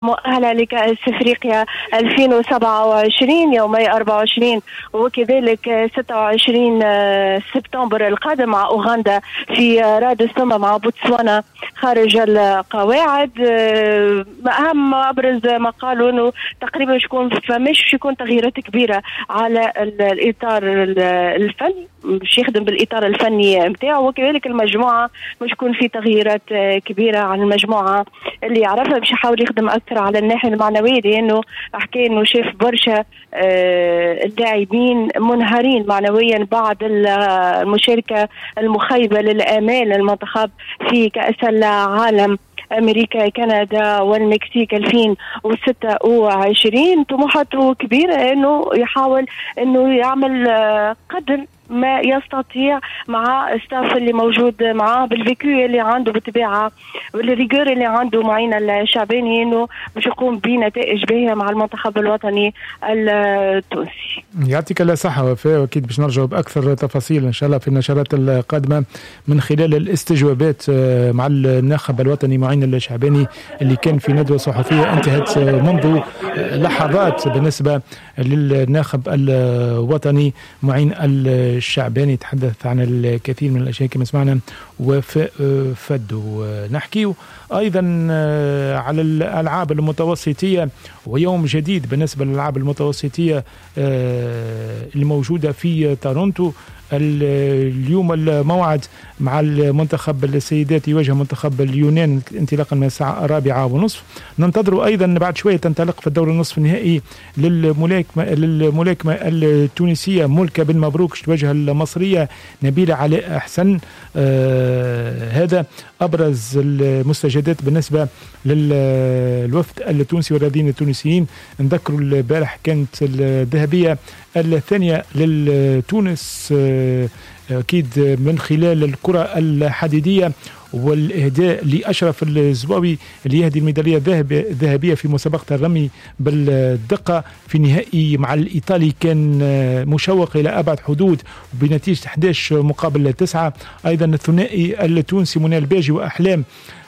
مؤهلة لكأس افريقيا 2027 يومي 24 وكذلك 26 سبتمبر القادم مع أوغندا في رادس، ثم مع بوتسوانا خارج القواعد. أهم أبرز ما قالوا أنه تقريبا فماش يكون تغييرات كبيرة على الإطار الفني، مش يخدم بالإطار الفني نتاعو، وكذلك المجموعة مش يكون في تغييرات كبيرة على المجموعة اللي يعرفها، باش يحاول يخدم أكثر على الناحية المعنوية، لأنه حكى أنه شاف برشا اللاعبين منهارين معنويا بعد المشاركة المخيبة للآمال المنتخب في كأس العالم أمريكا كندا والمكسيك 2026. طموحاته كبيرة أنه يحاول أنه يعمل قدر ما يستطيع مع staff اللي موجود معاه، بال vécu اللي عنده بالطبيعة وال rigueur اللي عنده معين الشعباني، انه باش يقوم بنتائج باهيه مع المنتخب الوطني التونسي. يعطيك الله صحة وفاء، واكيد باش نرجعوا باكثر تفاصيل ان شاء الله في النشرات القادمة من خلال الاستجوابات مع الناخب الوطني معين الشعباني اللي كان في ندوه صحفية انتهت منذ لحظات بالنسبة للناخب الوطني معين الشعباني. تحدث عن الكثير من الأشياء كما سمعنا وفاء فدو. نحكي أيضا على الألعاب المتوسطية ويوم جديد بالنسبة للألعاب المتوسطية الموجودة في تورونتو. اليوم الموعد مع المنتخب السيدات يواجه منتخب اليونان انطلاقا من الساعة 4:30. ننتظر أيضا بعد شوية تنطلق في الدور النصف النهائي للملاكمة التونسية ملكة بن مبروك تواجه المصرية نبيلة علاء حسن. هذا أبرز المستجدات بالنسبة للوفد التونسي والرياضيين التونسيين. نذكروا البارح كانت الذهبية الثانية للتونس أكيد من خلال الكرة الحديدية والإهداء لأشرف الزواوي اللي يهدي الميدالية الذهبية في مسابقة الرمي بالدقة في نهائي مع الإيطالي كان مشوق إلى أبعد حدود بنتيجة 11-9. أيضا الثنائي التونسي منى الباجي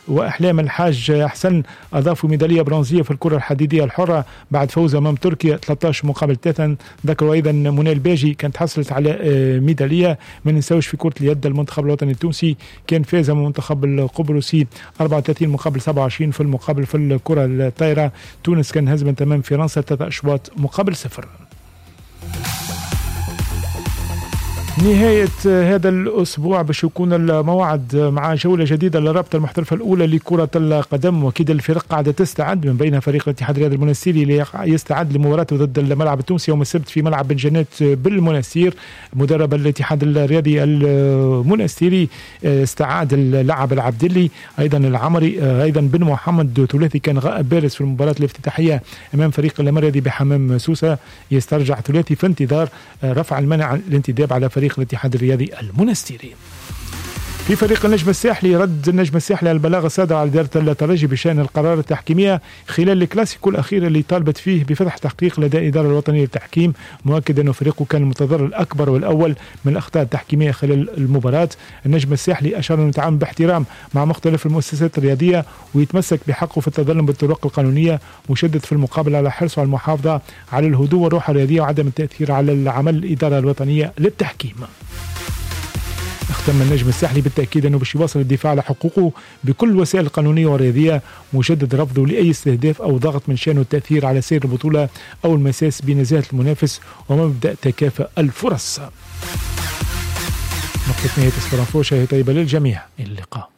وأحلام الحاج حسن أضافوا ميدالية برونزية في الكرة الحديدية الحرة بعد فوز أمام تركيا 13-3. ذكروا أيضا منى الباجي كانت حصلت على ميدالية. ما ننساوش في كرة اليد المنتخب الوطني التونسي كان فاز أمام المنتخب القبرصي 34-27. في المقابل في الكرة الطايرة تونس كان هزمت أمام فرنسا 3-0. نهاية هذا الأسبوع باش يكون الموعد مع جولة جديدة للرابطة المحترفة الأولى لكرة القدم، وأكيد الفرق قاعدة تستعد من بينها فريق الاتحاد الرياضي المنستيري اللي يستعد لمباراته ضد الملعب التونسي يوم السبت في ملعب بن جنات بالمنستير. مدرب الاتحاد الرياضي المنستيري استعاد اللاعب العبدلي، أيضا العمري، أيضا بن محمد، ثلاثي كان غائب بارز في المباراة الافتتاحية أمام فريق الرياضي بحمام سوسة، يسترجع ثلاثي في انتظار رفع المنع الانتداب على فريق الاتحاد الرياضي المنستيري. في فريق النجم الساحلي، رد النجم الساحلي على البلاغ الصادر على إدارة الترجي بشأن القرار التحكيمية خلال الكلاسيكو الأخير اللي طالبت فيه بفتح تحقيق لدى الإدارة الوطنية للتحكيم، مؤكد أن فريقه كان المتضرر الأكبر والأول من الأخطاء التحكيمية خلال المباراة. النجم الساحلي أشار أنه يتعامل باحترام مع مختلف المؤسسات الرياضية ويتمسك بحقه في التظلم بالطرق القانونية، مشدد في المقابل على حرصه على المحافظة على الهدوء والروح الرياضية وعدم التأثير على العمل الإدارة الوطنية للتحكيم. اختم النجم الساحلي بالتأكيد أنه باش يواصل الدفاع على حقوقه بكل الوسائل القانونية والرياضية، مجدد رفضه لأي استهداف أو ضغط من شأنه التأثير على سير البطولة أو المساس بنزاهة المنافس ومبدأ تكافؤ الفرص. نقطة نهاية sport info، شهية طيبة للجميع، إلى اللقاء.